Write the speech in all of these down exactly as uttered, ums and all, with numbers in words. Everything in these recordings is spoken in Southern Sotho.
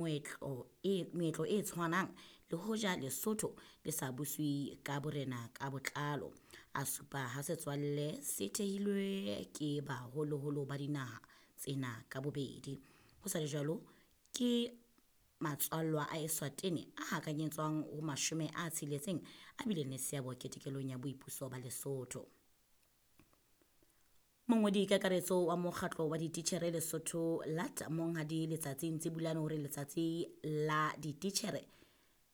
Moetlo e meetlo e tshwanang le hoja Lesotho le sa buswe ka borena ka botlalo. A supa ha setswalle se thehilwe ke baholoholo ba dinaha tsena ka bobedi. Ho sa le jwalo ke matswallwa a Eswatini a hakanyetswang ho mashome a tsheletseng a bileng le seabo ketekelong ya boipuso ba Lesotho. Mongodi kakaretso wa mokgatlo wa dititjhere Lesotho L A T Monghadi Letsatsi Ntsebulane hore letsatsi la dititjhere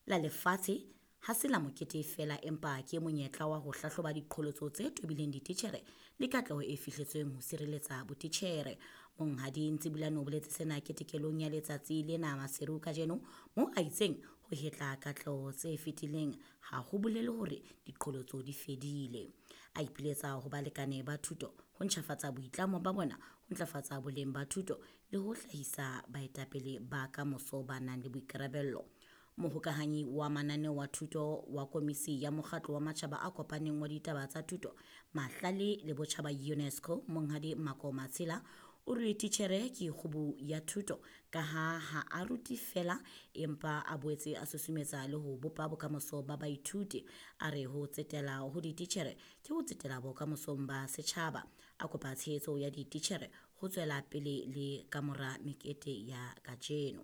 la lefatshe ha se la mokete feela empa ke monyetla wa ho hlahloba diqholotso tse tobileng dititjhere le katleho e fihletsweng ho sireletsa botitjhere. Monghadi Ntsebulane o boletse sena ketekelong ya letsatsi lena Maseru kajeno moo a itseng ho hetla katleho tse fetileng ha ho bolele hore diqholotso di fedile. A ipiletsa ho balekane ba thuto ho ntjhafatsa boitlamo ba bona ho ntlafatsa boleng ba thuto le ho hlahisa baetapele ba kamoso ba nang le boikarabello. Mohokahanyi wa mananeo wa thuto wa Komisi ya Mokgatlo wa Matjhaba a Kopaneng wa Ditaba tsa Thuto, Mahlale le Botjhaba UNESCO Monghadi Mako Matshela o re titjhere ke kgubu ya thuto ka ha ha a rute feela empa a boetse a susumetsa le ho bopa bokamoso ba baithuti. A re ho tsetela ho dititjhere ke ho tsetela bokamosong ba setjhaba. A kopa tshehetso ya dititjhere ho tswela pele le kamora mekete ya kajeno.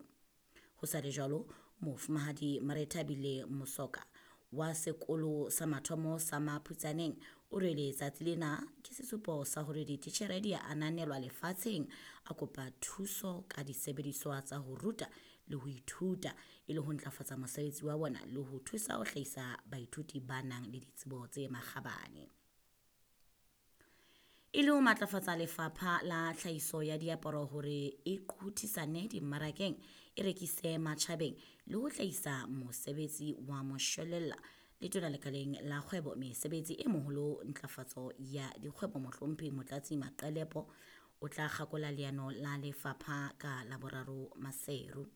Ho sa le jwalo, Mofumahadi Marethabile Mosoka wa sekolo sa mathomo sa Maphutsaneng o re letsatsi lena ke sesupo sa hore dititjhere di a ananelwa lefatsheng. A kopa thuso ka disebediswa tsa ho ruta le ho ithuta e le ho ntlafatsa mosebetsi wa bona le ho thusa ho hlahisa baithuti ba nang le ditsebo tse makgabane. E le ho matlafatsa lefapha la tlhahiso ya diaparo hore e qothisane dimmarakeng, e rekise matjhabeng le ho hlahisa mosebetsi wa moshwelella. Letona lekaleng la kgwebo mesebetsi e moholo ntlafatso ya dikgwebo Mohlomphehi Motlatsi Maqelepo o tla kgakola leano la lefapha ka Laboraro Maseru.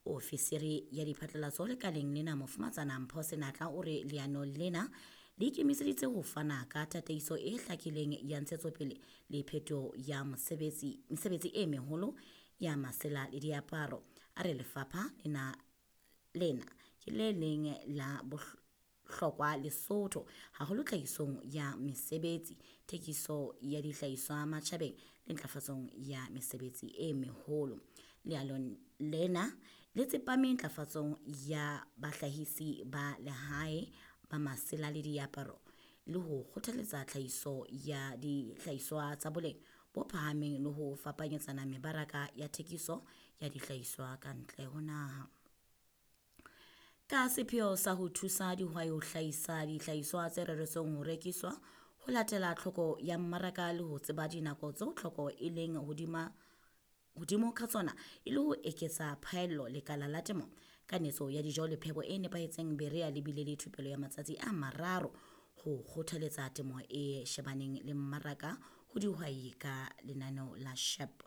Ofisiri ya diphatlalatso lekaleng lena Mofumatsana Mpho Senatla o re leano lena le ikemiseditse ho fana ka tataiso e hlakileng ya ntshetsopele le phetoho ya mosebetsi mesebetsi e meholo ya masela le diaparo. A re lefapha lena lena ke le leng la bohlokwa Lesotho haholo tlhahisong ya mesebetsi, thekiso ya dihlahiswa matjhabeng le ntlafatsong ya mesebetsi e meholo. Leano lena le tsepame ntlafatsong ya bahlahisi ba lehae ba masela le diaparo le ho kgothaletsa tlhahiso ya dihlahiswa tsa boleng bo phahameng le ho fapanyetsana mebaraka ya thekiso ya dihlahiswa ka ntle ho naha. Ka sepheo sa ho thusa dihwai ho hlahisa dihlahiswa tse reretsweng ho rekiswa, ho latela tlhoko ya mmaraka le ho tseba dinako tseo tlhoko e leng hodima hodimo ka tsona e le ho eketsa phaello lekala la temo kanetso ya dijo le phepo e nepahetseng Berea le bile le thupelo ya matsatsi a mararo ho kgothaletsa temo e shebaneng le mmaraka ho dihwai ka lenaneo la SHEP.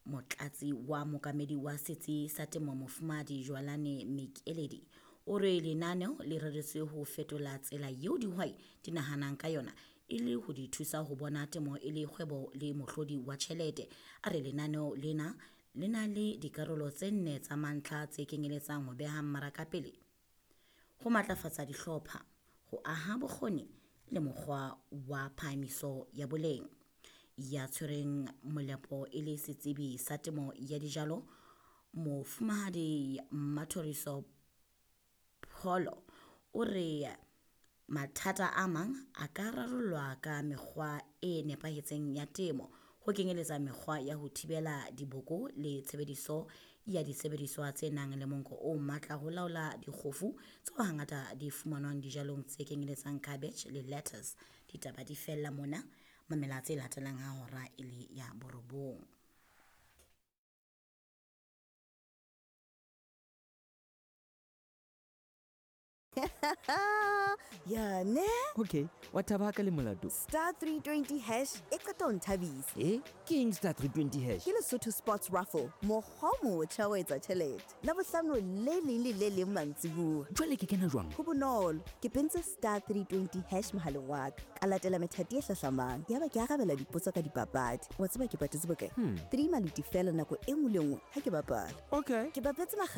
Motlatsi wa mookamedi wa setsi sa temo Mofumahadi Jwalane Mekeledi o re lenaneo le reretswe ho fetola tsela eo dihwai di nahanang ka yona e le ho di thusa ho bona temo e le kgwebo le mohlodi wa tjhelete. A re lenaneo lena le na le dikarolo tse nne tsa mantlha tse kenyeletsang ho beha mmaraka pele, ho matlafatsa dihlopha, ho aha bokgoni le mokgwa wa phahamiso ya boleng. Ya tshwereng molepo e le setsebi sa temo ya dijalo Mofumahadi Mathoriso Pholo o re mathata a mang a ka rarollwa ka mekgwa e nepahetseng ya temo ho kenyeletsa mekgwa ya ho thibela diboko le tshebediso ya disebediswa tse nang le monko o matla ho laola dikgofu tseo hangata di fumanwang dijalong tse kenyeletsang cabbage le lettuce. Ditaba di fella mona, mamela tse latelang ha hora e le ya borobong. Ya ne? Okay, wa thaba ka le molato. Star three twenty hash e qeta ho nthabisa. Eh, ke eng star three twenty hash? Ke Lesotho Sports Raffle, mokgwa o motjha wa etsa tjhelete. Labohlano le leng le le leng mantsibuya. Jwale ke kena jwang? Ho bonolo, ke pentse star three twenty hash mohaleng wa ka. Ka latela methati e hlahlamang. Yaba ke arabela dipotso ka dipapadi. Wa tseba ke patetse bokae? Hmm. Three maluti feela nako e nngwe le nngwe ha ke bapala. Okay. Ke bapetse makgetlo